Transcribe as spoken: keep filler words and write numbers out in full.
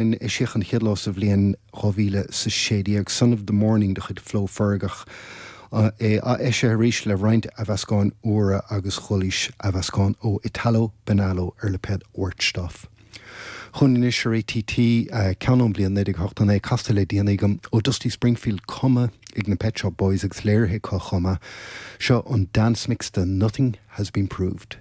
Eisíodh an chéad lá sa bhliain dhá mhíle is a sé déag, Son of the Morning de chuid Flo Fergach, é atheisithe arís le roinnt athmheascáin úra agus dhoilís, athmheascán ó Italo Benalo ar lipéad Wertstoff. Chugainn anois ar ATT, ceann ón bhliain naoi déag ochtó naoi, casta le déanaí agam, ó Dusty Springfield, cumtha ag na Pet Shop Boys agus léirithe acu chomh maith. Seo an dance mix de Nothing Has Been Proved.